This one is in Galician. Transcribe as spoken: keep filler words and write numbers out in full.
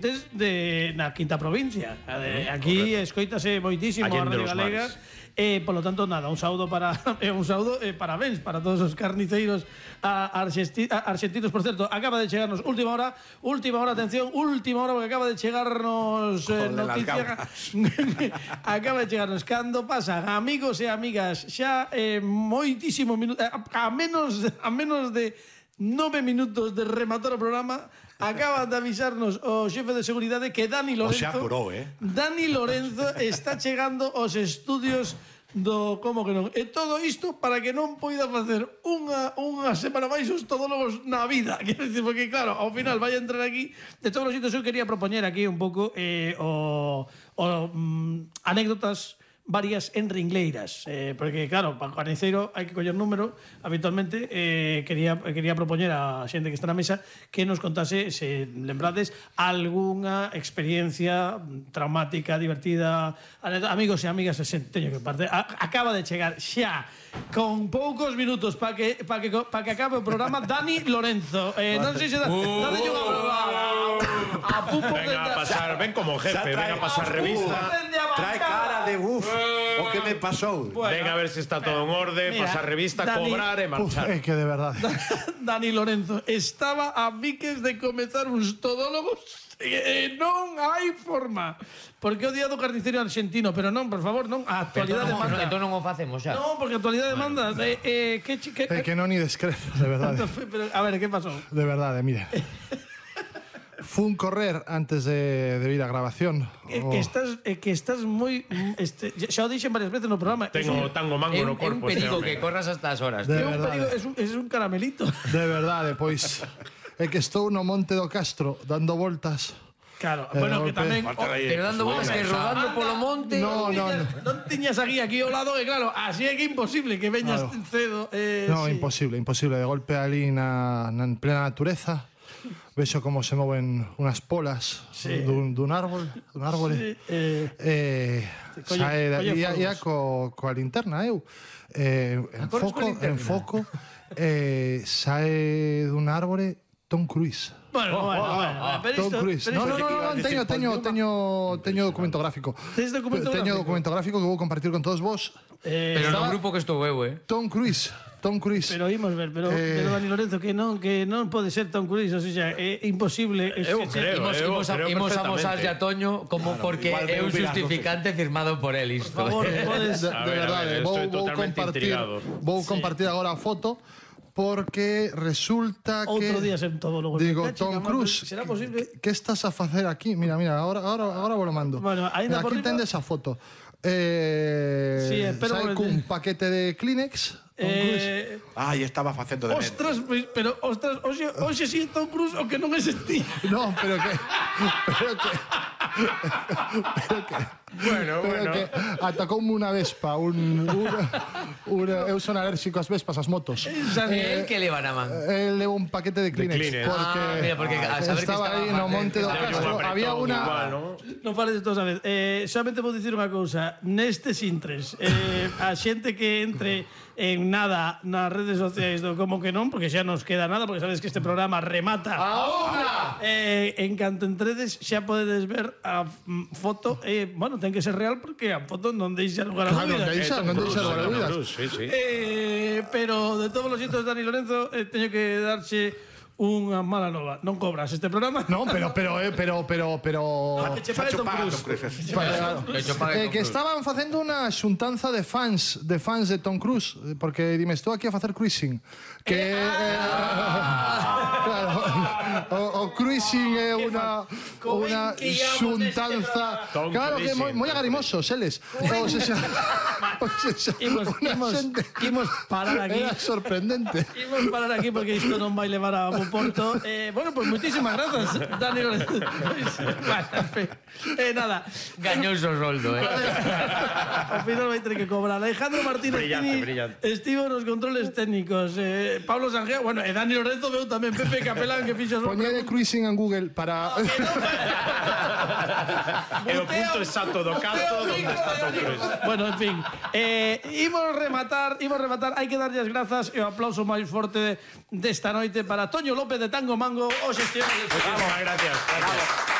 de na quinta provincia. Aquí escoítase moitísimo a Radio Galega. Eh, por lo tanto, nada, un saúdo para eh, un saúdo, eh, parabéns para todos os carniceiros a, argesti, a, argentinos. Por certo, acaba de chegarnos última hora, última hora, atención, última hora, porque acaba de chegarnos eh, noticia. Acaba de chegarnos cando pasan amigos e amigas xa eh, moitísimo minuto, a, a menos a menos de nove minutos de rematar o programa. Acaba de avisarnos o xefe de seguridade que Dani Lorenzo, o sea, apurou, eh? Dani Lorenzo está chegando aos estudios do como que non. E todo isto para que non poida facer unha, unha semana máis os todólogos na vida. Quero dicir, porque claro, ao final vai entrar aquí. De todos os sitios, eu quería propoñer aquí un pouco eh, o, o mm, anécdotas varias en ringleiras, eh, porque claro, para o carniceiro hai que coller número habitualmente. eh, quería, quería propoñer a xente que está na mesa que nos contase, se lembrades, algunha experiencia traumática, divertida, amigos e amigas, se teño que parte. A, acaba de chegar xa con poucos minutos para que, pa que, pa que acabe o programa Dani Lorenzo. eh, non sei se da, uh, dade unha a Pupo. Venga a pasar, ven como jefe, venga a pasar revista. Trae cara de uf, o que me pasou. Bueno, venga a ver se si está todo en orde, mira, pasar revista, Dani, cobrar e marchar. Uf, é que de verdade. Dani Lorenzo estaba a miques de comezar uns todólogos e non hai forma. Porque o día do carniceiro argentino, pero non, por favor, non, a actualidade entón, manda. Entón non o facemos xa. Non, porque a actualidade bueno, manda. Eh, eh, que, que, é que non ni descrezo, de verdade. Pero, a ver, que pasou? De verdade, mire. Fun correr antes de, de ir a grabación. É que estás, é que estás moi este, xa o dixen varias veces no programa. Tengo tango mango no corpo. É un perigo que corras hasta as horas. De é un perigo, verdade. es un, es un caramelito. De verdade, pois é que estou no Monte do Castro dando voltas. Claro, Eh, bueno, que golpe. tamén O, pero dando voltas que rodando polo monte. No, no, no. Non tiñas aquí aquí ao lado, e claro, así é que é imposible que veñas Claro. cedo. Eh, No, sí. imposible, imposible. De golpe ali na, na en plena natureza. Vexo como se moven unhas polas Sí. dun, dun árbol, dun árbore. Sí, eh, eh, colle- sae da, colle ia, ia fogos. co, coa linterna eu eh, en corres foco, coa linterna? en foco eh, sae dun árbore Tom Cruise. Bueno, bueno, bueno, pero Tom isto, Cruise. pero No, no, isto- no, no, teño, teño, teño, teño documento gráfico. Tes documento Teño gráfico? documento gráfico que vou compartir con todos vos. Eh, Pero no estaba- grupo que estou eu, eh. Tom Cruise, Tom Cruise. Pero imos ver, pero, Eh, pero Dani Lorenzo, que non que non pode ser Tom Cruise, o sea, é imposible. Es Eu que- creo, Imos, eu imos, a, creo imos a perfectamente. mosar a Toño como Claro, porque igual é un me hubiera- justificante firmado por él isto. Por favor, Eh, podes... de, A de ver, a verdade, ver, vou, estoy vou totalmente compartir, intrigado. vou compartir agora a foto porque resulta que Outro día sen todo logo. digo, Me cacho, Tom que, Cruise, será posible? que, que estás a facer aquí? Mira, mira, ahora ahora agora vos lo mando. Bueno, aínda Mira, por aquí riba- tendes a foto. Eh, Sí, espero sae que- cun paquete de Kleenex. Tom Cruise. Eh, Ai, estaba facendo de mente. ostras, pois, pero ostras, hoxe hoxe si Tom Cruise o que non é sentí. No, pero que pero que pero que Bueno, pero bueno. que atacoume unha vespa, un, una, una, eu son alérxico ás vespas, ás motos. El que le van a man. Eh, levo un paquete de Kleenex, Kleenex. porque, Ah, mira, porque a saber que estaba estaba aí no aparte- Monte do estaba Castro, un apretón había una igual, ¿no? Non fales de todos a vez. Eh, solamente vou dicir unha cousa. Nestes intres, eh, a xente que entre en nada nas redes sociais do Como que non, porque xa nos queda nada, porque sabes que este programa remata. Ahora. Eh, en canto entredes xa podedes ver a mm, foto. Eh, bueno, ten que ser real porque a foto non deixa lugar a Claro, dúbidas. non deixa, non deixa lugar a Tom dúbidas. Cruise, sí, sí. Eh, pero de todos los sitios, Dani Lorenzo, eh, teño que darse unha mala nova. Non cobras este programa? No, pero pero eh, pero pero pero Pa que che pague Tom Paga, Cruise. Tom Cruise. Claro. Que cho pague Eh, Tom que Cruise. estaban facendo unha xuntanza de fans de fans de Tom Cruise, eh, porque dime, estou aquí a facer cruising. Que eh, claro, o, o cruising é unha co ben unha que íamos xuntanza. Tom Claro que é moi, Cruising. moi agarimosos eles. O sea, o sea, Imos, unha imos, xente- imos parar aquí. Era sorprendente. Imos parar aquí porque isto non vai levar a bo porto. Eh, bueno, pues muchísimas gracias, Dani Lorenzo. Bueno, en fin. Eh, nada. Gañoso roldo, eh. Ao final vai ter que cobrar. Alejandro Martínez Brillante, Pini brillante. estivo nos controles técnicos. Eh, Pablo Sangeo, bueno, e Dani Lorenzo veu tamén. Pepe Capelán, que fixo... Poñede cruising en Google para É o punto exacto do casto onde está Tom Cruise. Bueno, en fin, eh, imos rematar, imos rematar, hai que darlle as grazas e o aplauso máis forte desta noite para Toño López de Tango Mango, os xestiones. Muchísimas gracias. Gracias.